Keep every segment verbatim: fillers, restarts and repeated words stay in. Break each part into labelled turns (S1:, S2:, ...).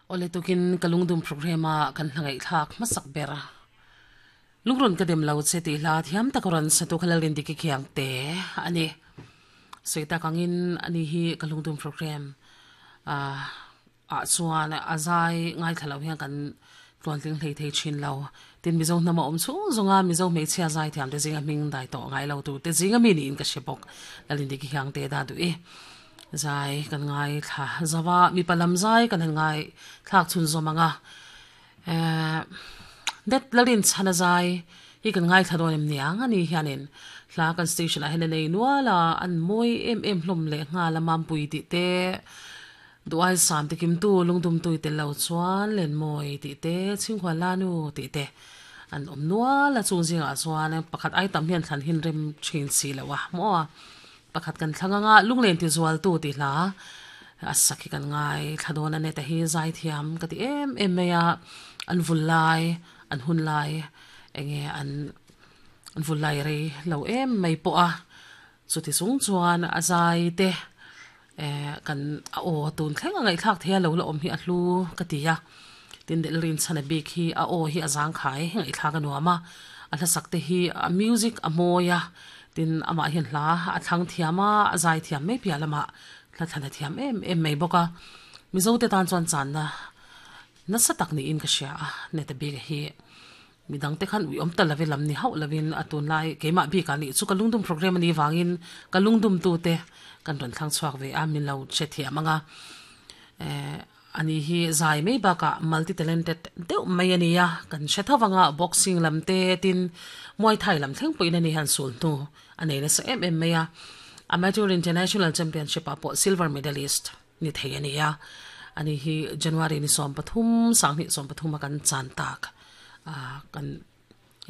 S1: Ole tukin kalungdum programa kan hlangai thak masak bera lungrun ka dem lo che ti hla thiam takoran satu khalalin diki khiang te ani soita kangin ani hi kalungdum program a a chuan azai ngai thalo hian kan tluan tling hlei thei thin lo tin mizo hnama awm chung zunga mizo hmeichhia zai thiam te zinga hming dai tawh ngai lo tu te zinga mi niin ka hre bawk lalin diki khiang te da du e zai kan ngai thla zawa mi palam zai kan han ngai thlak chun zomanga eh det lalin chana zai hi kan ngai thla dawn em niang ani hianin hla kan station a hen nei nuala an moi em em hlum le nga la mam pui ti te duai sam te kim tu lungdum tui te lo chuan len moi ti te chingkhwa la nu ti te an om nuala chung zinga chuan pakhat ai tam hian thlan hin rem thin si lo wa mo pakhat kan thlanga lunglen ti zual tu ti hla asakhi kan ngai thladona ne ta hi zai thiam ka ti em em meya an vulai an hun lai enge an an vulai rei lo em mai po a chu ti sung chuan azai te eh kan a o tun thleng angai thlak thea lo la om hi a hlu ka ti ya tin del rin chana bik hi a o hi azang khai ngai thlak anuama a hla sak te hi a music a moya tin ama hian hla a thlang thiama a zai thiam mai pia lama thla thana thiam em em mai boka mizo te tan chuan chan na na satak ni in ka sia a ne te bik hi midang te khan ui om ta lave lam ni hau lavin atun lai keima bi ka ni chu ka lungdum program ani wangin ka lungdum tu te kan ron thlang chuak ve a min lo che thiam anga eh ani hi zai mai baka multi talented deuh mai ani a kan hre thawanga boxing lam te tin muay thai lam thleng puin ani han sul tu anei na sa em em mai a amateur international championship a pawh silver medalist ni thei ani a ani hi January ni som pathum sangni som pathum a kan chan tak a kan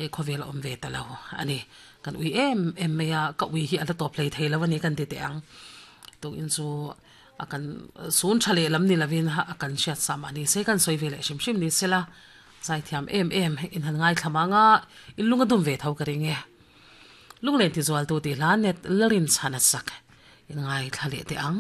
S1: e khovel om ve ta lo ani kan ui em em mai a ka ui hi ala top play thei lo ani kan ti te ang tu in chu akan sun thale lam ni lavin ha akan siat sam ani se kan soi vele shim shim ni sela zai thiam em em in han ngai thlamanga in lunga dum ve thau ka ringe lunglen ti zual tu ti hla net larin chana sak in ngai thlale te ang.